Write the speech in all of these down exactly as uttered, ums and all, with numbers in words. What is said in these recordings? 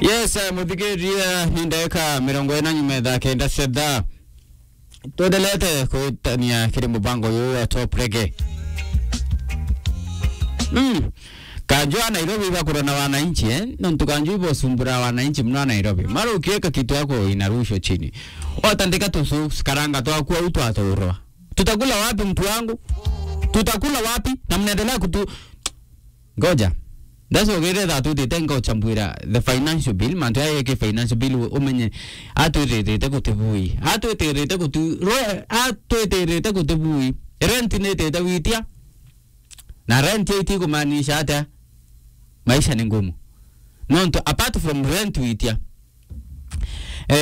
Yes, eh, muthikiria, ni ndagika mirongo ina nyuma ya thaa kenda cia thaa. Twendelete kwitania kiri mubango uyu wa Top Reggae. Mm. Kanju a Nairobi ibakurwa na wananchi, eh? Nontu kanju ibosumbura wananchi mno a Nairobi. Mara ukiweka kitu yako inarusha chini. Watandika tu socks, karanga twaku au twaturwa. Tutakula wapi, mtu wangu? Tutakula wapi? Na mnaendelea kutu-, ngoja. That's why ukirira twitite ngochambwira the financial bill, mantu aya ki financial bill, umenye atwitirite gutibui. Atwitirite guti-, rwe-, atwitirite gutibui. Rent ni itite witia. Na rent iti kumaanisha atia? Maisha ni ngumu. Nontu apart from rent witia, eh,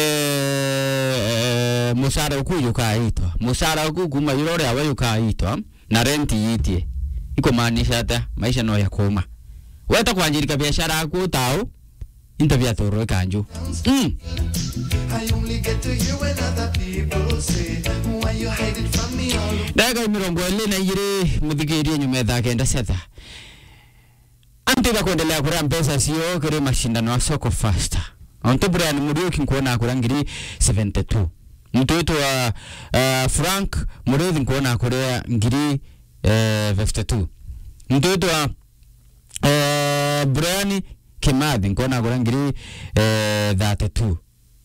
eh, mucara uku jukaitwa. Mucara uku kuma jura uria we jukaitwa, na rent yitie. Ikumaanisha atia? Maisha no ya kuuma. Weta kwanjirika biashara yaku utau, into bia toro kanju. Mm. I only get to hear when other people say, "Why you hide it from me all?" Ndagika mirongo iri na igiri, muthikirie nyuma ya thaa kenda cia thaa. Anti bakwendelea kuria mbeca cio kiri mashindano ya Soko Fasta. Ontu Brian Muriuki nkuona akuria ngiri seventy two. Mtu wetu wa, eh, Frank Muriuthi nkuona akuria ngiri, eh, fifty two. Mtu wetu wa, eh, Brian Kimathi nkuona akuria ngiri, eh, thirty two.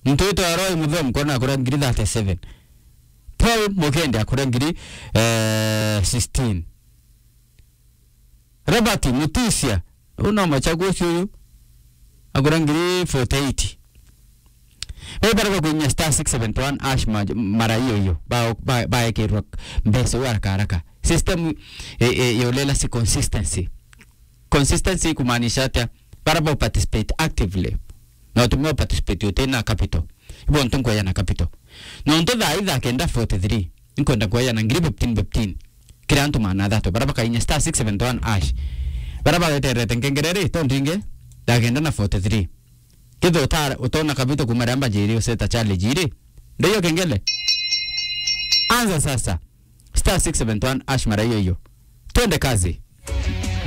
Mtu wetu wa Roy Muthomi nkuona akuria ngiri thirty seven. Paul Mukende akuria ngiri, eh, sixteen. Robert Mutusia, uyu no machagua ucio uyu, akuria ngiri forty eight. Bau baria bakuinyia star six seven one hash ma-, mara iyo iyo, ba-, ba-, baekirwa mbeca uu haraka haraka. System, e, e, ya ulela si consistency. Consistency ikumaanisha atia? Baria ba participate actively. Na utumia participate utina capital. Ibo ntu nkweyana capital. Nontu thaa ii thaa kenda forty three, nkwenda kweyana ngiri fifteen fifteen. Kiri antu maana athatu, baria bakainya star six seven one hash. Baria baweterete nkengere ri, to ndingi, thaa kenda na forty three. Kethira uta-, utona capital kuma riria mbajiri useta challenge iri, ndio kengele. Anza sasa. Star six seven one hash mara iyo iyo. Twende kazi.